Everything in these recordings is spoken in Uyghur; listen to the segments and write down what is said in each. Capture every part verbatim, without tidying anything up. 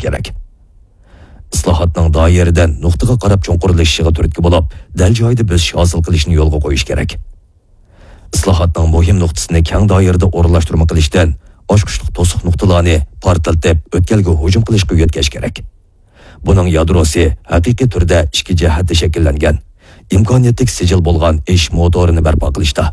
كېرەك. ئىسلاھاتنىڭ دائىرىدىن نۇقتىغا قاراپ چوڭقۇرلىشىشىغا تۈرتكە بولۇپ، دەل جايىدا بۆسۈش ھاسىل قىلىشنى يولغا قويۇش كېرەك. ئىسلاھاتنىڭ مۇھىم نۇقتىسىنى كەڭ دائىرىدە ئورۇنلاشتۇرما قىلىشتىن، ئاچقۇچلۇق توسۇق نۇقتىلارنى پارتلىتىپ، ئۆتكەلگە ھۇجۇم قىلىشقا يۆتكەش كېرەك. بۇنىڭ يادروسى ھەقىقىي تۈردە ئىككى جەھەتتە شەكىللەنگەن، ئىمكانىيەتلىك سىجىل بولغان ئېشىش موتورىنى بەرپا قىلىشتا.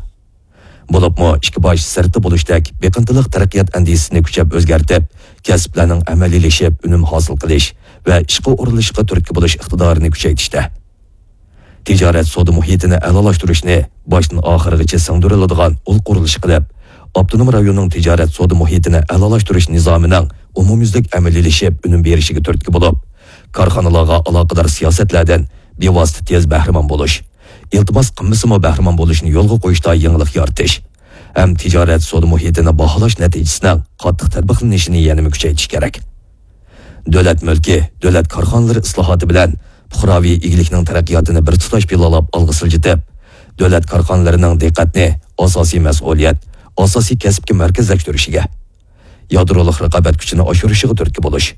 بولۇپمۇ ئىككى باش سىرتتا بولۇشتەك بېقىنتىلىق تەرەققىيات ئەندىزىسىنى كۈچەپ ئۆزگەرتىپ، كەسىپلەرنىڭ ئەمەلىيلىشىپ ئۈنۈم ھاسىل قىلىش ۋە ئىشقا ئورۇنلىشىشقا تۈرتكە بولۇش ئىقتىدارىنى كۈچەيتىشتە. تىجارەت سودا مۇھىتىنى ئەلالاشتۇرۇشنى باشتىن ئاخىرغىچە سىڭدۈرۈلىدىغان ئۇل قۇرۇلۇش قىلىپ، ئاپتونوم رايوننىڭ تىجارەت سودا مۇھىتىنى ئەلالاشتۇرۇش نىزامىنىڭ ئومۇميۈزلۈك ئەمەلىيلىشىپ ئۈنۈم بېرىشىگە تۈرتكە بولۇپ، كارخانىلارغا ئالاقىدار سىياسەتلەردىن بىۋاسىتە تېز بەھرىمەن بولۇش، ئىلتىماس قىلمىسىمۇ بەھرىمەن بولۇشنى يولغا قويۇشتا يېڭىلىق يارىتىش ھەم تىجارەت سودا مۇھىتىنى باھالاش نەتىجىسىنىڭ قاتتىق تەتبىقلىنىشىنى يەنىمۇ كۈچەيتىش كېرەك. دۆلەت مۈلكى، دۆلەت كارخانىلىرى ئىسلاھاتى بىلەن پۇقراۋى ئىگىلىكنىڭ تەرەققىياتىنى بىر تۇتاش پىلانلاپ ئالغا سىلجىتىپ، دۆلەت كارخانىلىرىنىڭ دىققەتنى ئاساسىي مەسئۇلىيەت، ئاساسىي كەسىپكە مەركەزلەشتۈرۈشىگە، يادرولۇق رىقابەت كۈچىنى ئاشۇرۇشىغا تۈرتكە بولۇش.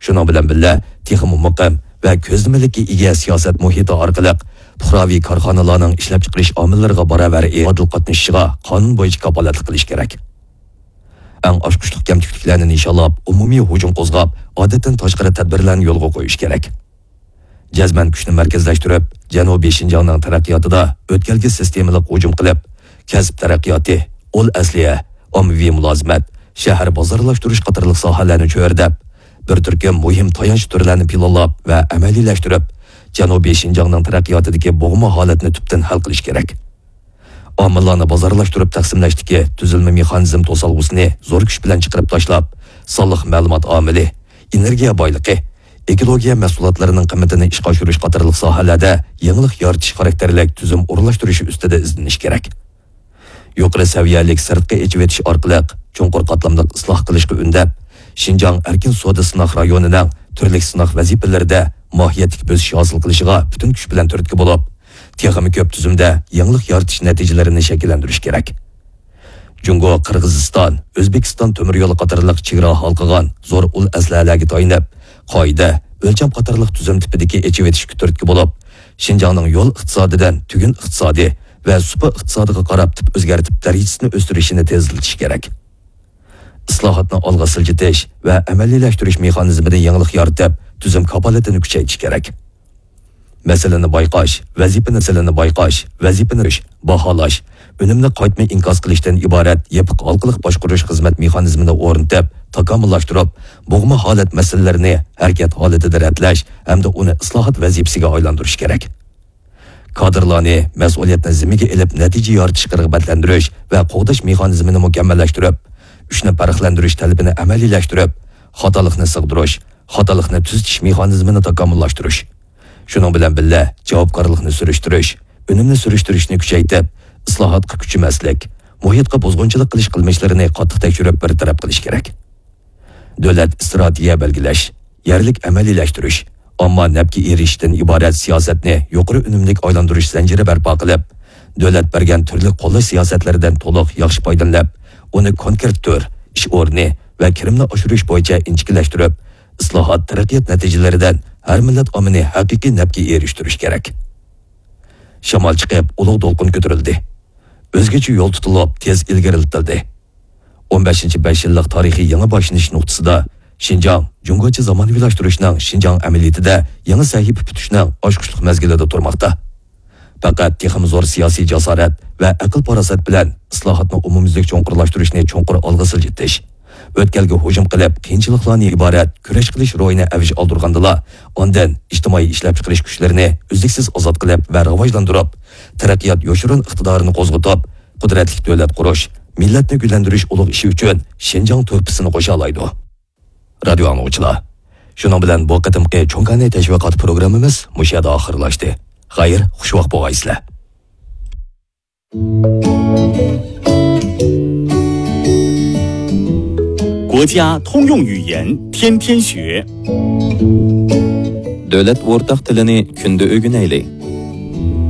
شۇنىڭ بىلەن بىللە، تېخىمۇ مۇقىم ۋە كۆزلىمىلىككە ئىگە سىياسەت مۇھىتى ئارقىلىق پۇقراۋى كارخانىلارنىڭ ئىشلەپچىقىرىش ئامىللىرىغا باراۋەر ئادىل قاتنىشىشىغا قانۇن بويىچە كاپالەتلىك قىلىش كېرەك. ئەڭ ئاچقۇچلۇق كەمچىلىكلەرنى نىشانلاپ، ئومۇمىي ھۇجۇم قوزغاپ، ئادەتتىن تاشقىرى تەدبىرلەرنى يولغا قويۇش كېرەك. جەزمەن كۈچنى مەركەزلەشتۈرۈپ، جەنۇبىي شىنجاڭنىڭ تەرەققىياتىدا ئۆتكەلگە سىستېمىلىق ھۇجۇم قىلىپ، كەسىپ تەرەققىياتى، ئۇل ئەسلىھە، ئاممىۋى مۇلازىمەت، شەھەر بازارلاشتۇرۇش قاتارلىق ساھەلەرنى چۆرىدەپ، بىر تۈركۈم مۇھىم تايانچ تۈرلەرنى پىلانلاپ ۋە ئەمەلىيلەشتۈرۈپ، جەنۇبىي شىنجاڭنىڭ تەرەققىياتىدىكى بوغما ھالەتنى تۈپتىن ھەل قىلىش كېرەك. ئامىللارنى بازارلاشتۇرۇپ تەقسىملەشتىكى تۈزۈلمە مېخانىزم توسالغۇسىنى زور كۈچ بىلەن چىقىرىپ تاشلاپ، سانلىق مەلۇمات ئامىلى، ئېنېرگىيە بايلىقى، ئېكولوگىيە مەھسۇلاتلىرىنىڭ قىممىتىنى ئىشقا ئاشۇرۇش قاتارلىق ساھەلەردە يېڭىلىق يارىتىش خاراكتېرلىك تۈزۈم ئورۇنلاشتۇرۇشى ئۈستىدە ئىزدىنىش كېرەك. يۇقىرى سەۋىيەلىك سىرتقى ئېچىۋېتىش ئارقىلىق چوڭقۇر قاتلاملىق ئىسلاھ قىلىشقا ئۈندەپ، شىنجاڭ ئەركىن سودا سىناق رايونىنىڭ تۈرلۈك سىناق ۋەزىپىلىرىدە ماھىيەتلىك بۆسۈش ھاسىل قىلىشىغا پۈتۈن كۈچ بىلەن تۈرتكە بولۇپ، تېخىمۇ كۆپ تۈزۈمدە يېڭىلىق يارىتىش نەتىجىلىرىنى شەكىللەندۈرۈش كېرەك. جۇڭگو، قىرغىزىستان، ئۆزبېكىستان تۆمۈر يولى قاتارلىق چېگرا ھالقىغان زور ئۇل ئەسلىھەلەرگە تايىنىپ، قائىدە، ئۆلچەم قاتارلىق تۈزۈم تىپىدىكى ئېچىۋېتىشكە تۈرتكە بولۇپ، شىنجاڭنىڭ يول ئىقتىسادىدىن تۈگۈن ئىقتىسادى ۋە سۇپا ئىقتىسادىغا قاراپ تىپ ئۆزگەرتىپ دەرىجىسىنى ئۆستۈرۈشىنى تېزلىتىش كېرەك. ئىسلاھاتنى ئالغا سىلجىتىش ۋە ئەمەلىيلەشتۈرۈش مېخانىزمىدا يېڭىلىق يارىتىپ، تۈزۈم كاپالىتىنى كۈچەيتىش كېرەك. مەسىلىنى بايقاش، ۋەزىپىنى، مەسىلىنى بايقاش، ۋەزىپىنى باھالاش، ئۈنۈمنى قايتما ئىنكاس قىلىشتىن ئىبارەت يېپىق ھالقىلىق باشقۇرۇش خىزمەت مېخانىزمىنى ئورنىتىپ، تاكامۇللاشتۇرۇپ، بوغما ھالەت مەسىلىلىرىنى ھەرىكەت ھالىتىدە رەتلەش ھەمدە ئۇنى ئىسلاھات ۋەزىپىسىگە ئايلاندۇرۇش كېرەك. كادىرلارنى مەسئۇلىيەتنى زىممىگە ئېلىپ، نەتىجە يارىتىشقا رىغبەتلەندۈرۈش ۋە قوغداش مېخانىزمىنى مۇكەممەللەشتۈرۈپ، ئۈچنى پەرقلەندۈرۈش تەلىپىنى ئەمەلىيلەشتۈرۈپ، خاتالىقنى سىغدۇرۇش، خاتالىقنى تۈزىتىش مېخانىزمىنى تاكامۇللاشتۇرۇش. شۇنىڭ بىلەن بىللە، جاۋابكارلىقنى سۈرۈشتۈرۈش، ئۈنۈمنى سۈرۈشتۈرۈشنى كۈچەيتىپ، ئىسلاھاتقا كۈچىمەسلىك، مۇھىتقا بۇزغۇنچىلىق قىلىش قىلمىشلىرىنى قاتتىق تەكشۈرۈپ بىر تەرەپ قىلىش كېرەك. دۆلەت ئىستراتېگىيە بەلگىلەش، يەرلىك ئەمەلىيلەشتۈرۈش، ئامما نەپكە ئېرىشىشتىن ئىبارەت سىياسەتنى يۇقىرى ئۈنۈملۈك ئايلاندۇرۇش زەنجىرى بەرپا قىلىپ، دۆلەت بەرگەن تۈرلۈك قوللاش سىياسەتلىرىدىن تولۇق ياخشى پايدىلىنىپ، ئۇنى كونكرېت تۈر، ئىش ئورنى ۋە كىرىمنى ئاشۇرۇش بويىچە ئىنچىكىلەشتۈرۈپ، ئىسلاھات، تەرەققىيات نەتىجىلىرىدىن ھەر مىللەت ئاممىنى ھەقىقىي نەپكە ئېرىشتۈرۈش كېرەك. شامال چىقىپ، ئۇلۇغ دولقۇن كۆتۈرۈلدى. ئۆزگىچە يول تۇتۇلۇپ، تېز ئىلگىرىلىتىلدى. ئون بەشىنچى بەش يىللىق تارىخىي يېڭى باشلىنىش نۇقتىسىدا شىنجاڭ جۇڭگوچە زامانىۋىلاشتۇرۇشنىڭ شىنجاڭ ئەمەلىيىتىدە يېڭى سەھىپە پۈتۈشنىڭ ئاچقۇچلۇق مەزگىلىدە تۇرماقتا. پەقەت تېخىمۇ زور سىياسىي جاسارەت ۋە ئەقىل-پاراسەت بىلەن ئىسلاھاتنى ئومۇميۈزلۈك چوڭقۇرلاشتۇرۇشنى چوڭقۇر ئالغا سىلجىتىش، ئۆتكەلگە ھۇجۇم قىلىپ، قىيىنچىلىقلاردىن ئىبارەت كۈرەش قىلىش روھىنى ئەۋج ئالدۇرغاندىلا، ئاندىن ئىجتىمائىي ئىشلەپچىقىرىش كۈچلىرىنى ئۈزلۈكسىز ئازاد قىلىپ ۋە راۋاجلاندۇرۇپ، تەرەققىيات يوشۇرۇن ئىقتىدارىنى قوزغىتىپ، قۇدرەتلىك دۆلەت قۇرۇش، مىللەتنى گۈللەندۈرۈش ئۇلۇغ ئىشى ئۈچۈن شىنجاڭ تۆھپىسىنى قوشالايدۇ. رادىيو ئاڭلىغۇچىلار، شۇنىڭ بىلەن بۇ قېتىمقى چوڭ كاناي تەشۋىقات پروگراممىمىز مۇشۇ يەردە ئاخىرلاشتى. خەير، خۇشۋاق بولغايسىلەر. 国家通用语言，天天学。 دۆلەت ئورتاق تىلىنى كۈندە ئۆگىنەيلى.